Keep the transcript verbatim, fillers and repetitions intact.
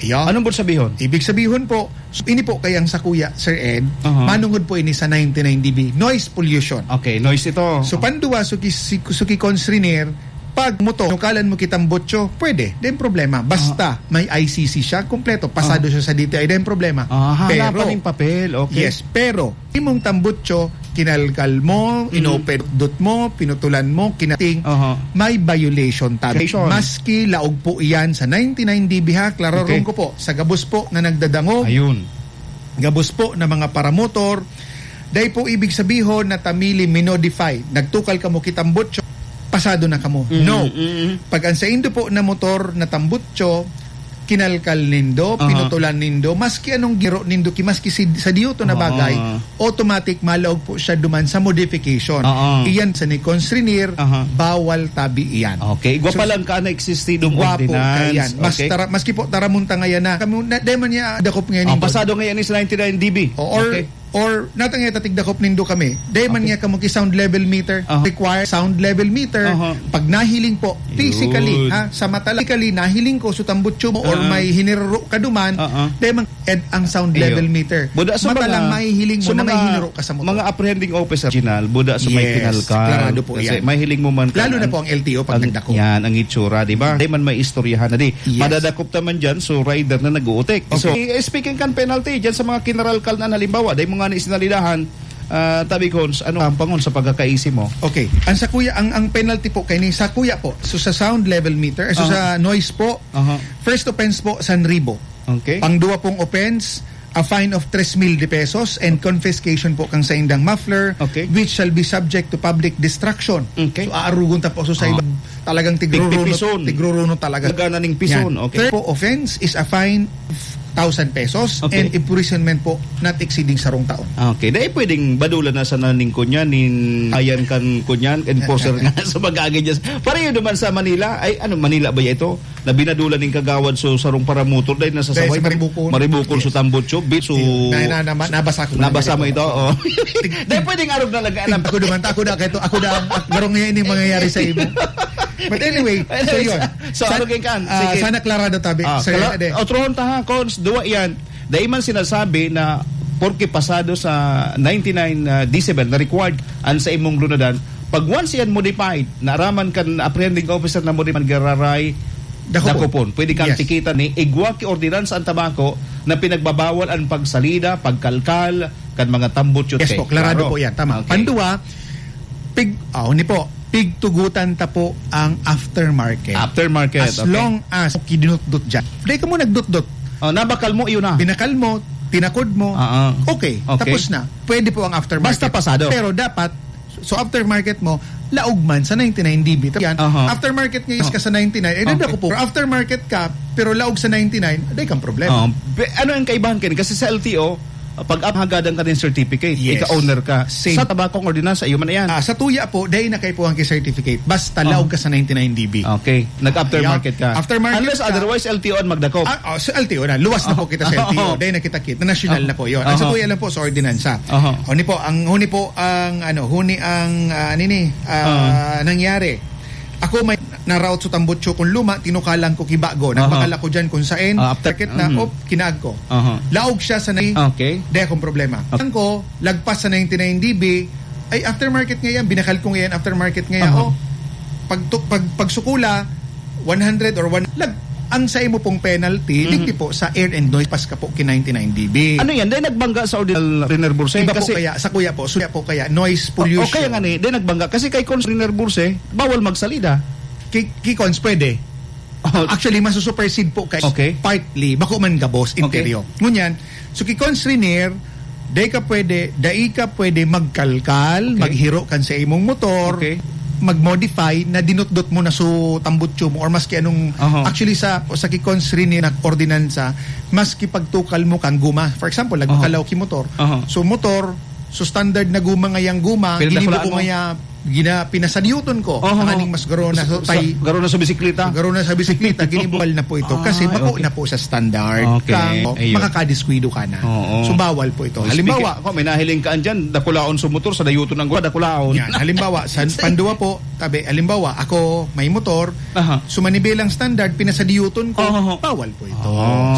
Iyo. Anong po sabihon? Ibig sabihon po, so, ini po kayang sakuya, Sir Ed, Aha. manungod po ini sa ninety-nine D B, noise pollution. Okay, noise ito. So, panduwa, so ki-, si-, so ki Cons Renier, pag motor, nukalan mo kitang botso, pwede, din problema. Basta, Ah. may I C C siya, kompleto, pasado Ah. siya sa D T I, din problema. Ah, hala Pero, pa ning papel, okay. Yes, pero, imong tambutso, kinalkal mo, Mm. inopedot mo, pinutulan mo, kinating, Aha. may violation tabi. Violation. Maski laog po iyan sa ninety-nine D B ha, klararon Okay. ko po, sa gabos po na nagdadangog, Ayun. gabos po na mga paramotor, dai po ibig sabihon na tamili minodify, nagtukal ka mo kitambutso, pasado na kamo. Mm, No. mm. Pag ang saindo po na motor na tambutso, kinalkal nindo, Aha. pinutulan nindo, maski anong giro nindo, ki-, maski si, sa diyoto na Aha. bagay, automatic malaog po siya duman sa modification. Oo. Iyan sa ni Cons Renier, Aha. bawal tabi iyan. Okay. Igwa So, pa lang ka na existidong igwa po ordinance. kaiyan. Mas Okay. tara-, maski po taramunta ngayon na, kami, na, dai man niya dakop ngayon Oh, yung pasado ngayon is ninety-nine D B. O, or, Okay. or, natang niya tatigdakop nindo kami. Dai man Okay. niya kamo ki sound level meter. Aha. Require sound level meter. Aha. Pag nahiling po, Yun. physically, ha, sa mata lang, physically, nahiling ko, sutambutso mo, or Aha. may hiniruro ka duman, Aha. dai man Ed ang sound Iyo. level meter. Buda sa Mata mga, lang mahihiling mo sa na may mga, hiniro ka sa motor. mga apprehending officer, Ginal, buda sa may Yes, kinalkal. klarado po Kasi yan. mahiling mo man Lalo kan na ang, po ang L T O pag ang, nagdakop. yan, ang itsura, di ba? Di man may istoryahan na di. Yes. Madadakop naman dyan, so rider na nag-uutik. So, Okay. eh, speaking kan penalty, dyan sa mga kinaralkal na halimbawa, dahil mo nga ni sinalidahan, ah, tabi ko, ano ang pangon sa pagkakaisi mo? Okay. Ang sa kuya, ang, ang penalty po kay ni, sa kuya po, so sa sound level meter, so Aha. sa noise po, Aha. first offense po, sanribo. Okay. Pangduwa pong offense, a fine of tres mil de pesos and confiscation po kang saindang muffler, Okay. which shall be subject to public destruction. Okay. So, aarugon ta po so sa Ah. ibang talagang tigruruno, Tigpipison. tigruruno talaga. Talaga na ning pison, Yan. okay. Third po offense is a fine of thousand pesos Okay. and imprisonment po not exceeding sarong taon. Okay. Dahil pwedeng badulan na sa naning kunyan, nin ayan kan kunyan, enforcer Yan, yan. nga sa mag-aagay dyan. Pareho naman sa Manila. Ay, ano, Manila ba ito? Na binadulan ning kagawad so sarong paramotor dahil nasa Dahil sabay sa Maribukon. Maribukon, Yes. so tambutso, bit, so Ayun. Na, na, na, nabasa ko na Nabasa mo Maribukon. ito? Oh. Dahil pwedeng arog na lang, alam. Ako naman, ako na, kahit ako na, ang garong niya ini mangyayari sa imo. But anyway, so yun. So, Sa-, ano kay kan? ah, Sige. sana klarado tabi, Ah, Sir kala-, Ede. otrohon ta ha, Cons, duwa yan. Dahil man sinasabi na porke pasado sa ninety-nine, ah, decibel na required an sa imong lunadan, pag once yan modified, naaraman kan apprehending officer na modified, gararay, Dakopon. dakopon. Pwede kang Yes. tikitan ni igwa ki ordinansa ang tabako na pinagbabawal ang pagsalida, pagkalkal, kan mga tambutso. Yes Okay, po, klarado klaro. po yan. Tama. Okay. Pandua, pig-, oh, ni po, pigtugutan ta po ang aftermarket. Aftermarket, As okay. long as kidinutdot dyan. Dahil ka mo nagdutdot. Oh, nabakal mo, yun na. Binakal mo, tinakod mo. Ah, ah. Okay, Okay. tapos na. Pwede po ang aftermarket. Basta pasado. Pero dapat, so aftermarket mo, laog man sa ninety-nine D B. Yan. Aha. Aftermarket ngayon ka Okay. sa ninety-nine, eh, Okay. dada ko po. Aftermarket ka, pero laog sa ninety-nine, aday kang problema. Oh, be-, ano ang kaibahan kayo? Kasi sa L T O, pag hagadan ka ng certificate, Yes. ika-owner ka. Same. Sa tabakong ordinansa, iyo man na yan. Ah, sa tuya po, dahil na kayo po ang certificate. Basta Oh. laog ka sa ninety-nine D B. Okay. Nag-aftermarket ka. Aftermarket Unless ka. otherwise, L T O ang magdakop. Ah, oh, sa L T O na. Luwas na po Oh. kita sa L T O. Oh. Dahil na kita kit. Na nasyonal Oh. na po yun. Ang sa Oh. tuya lang po, sa ordinansa. Oh. Huni po, ang, huni po ang, ano, huni ang, ah, nini, ah, Oh. nangyari. Ako may naraot sa tambutso kong luma, tinukalan ko kibago. Aha. Nagbakal ako dyan kung sain, Ah, after- market na, Mm. op, kinaag ko. Aha. Laog siya sa nai-, Okay. di akong problema. Okay. Ang ko, lagpas sa ninety-nine D B, ay aftermarket nga yan, binakal ko nga yan, aftermarket nga yan. Aha. Oh, pag tu-, pag, pagsukula, one hundred or one, lag-, ang sa imo pong penalty, Mhm. digdi po sa air and noise, pas ka po ki ninety-nine D B. Ano yan? Dahil nagbangga sa ordinal Riner Burse? Iba Kasi po kaya, sa kuya po, suya po kaya, noise O, o pollution. kaya nga ni, dahil nagbangga. Kasi kay Cons Riner Burse, bawal magsalida. Ki-, ki Cons, pwede. Oh. Actually, masusuperseed po kay Okay. partly, bako man gabos, Okay. interior. Ngunyan, so ki Cons Riner, dai ka pwede, dai ka pwede magkalkal, Okay. maghiro kan sa imong motor, Okay. mag-modify na dinutdot mo na so tambutso mo or maski anong, Aha. actually sa, sa ki Cons Riner na ordinansa, maski pagtukal mo kang guma. For example, Aha. nagmakalaw ki motor. Aha. So motor, so standard na guma ngayang guma, Pero ginibo dakulaan ko mo. ngaya, gina-, pinasadyoton ko. Aha. Tanganing mas garo na Sa, sa, tay. garo na sa bisikleta. Garo na sa bisikleta, ginibawal na po ito. Kasi Ay, bako okay. na po sa standard. Okay. Kang Ayun. makakadiskuido ka na. Oo. So, bawal po ito. Oh, Halimbawa, speaking, ako, may nahiling ka andyan, dakulaon sa motor, sa dayuton ng gwa, dakulaon. Yan. Halimbawa, sa pandua po, tabi, halimbawa, ako may motor, Aha. so manibilang standard, pinasadyoton ko, Oo. bawal po ito. Oo. So,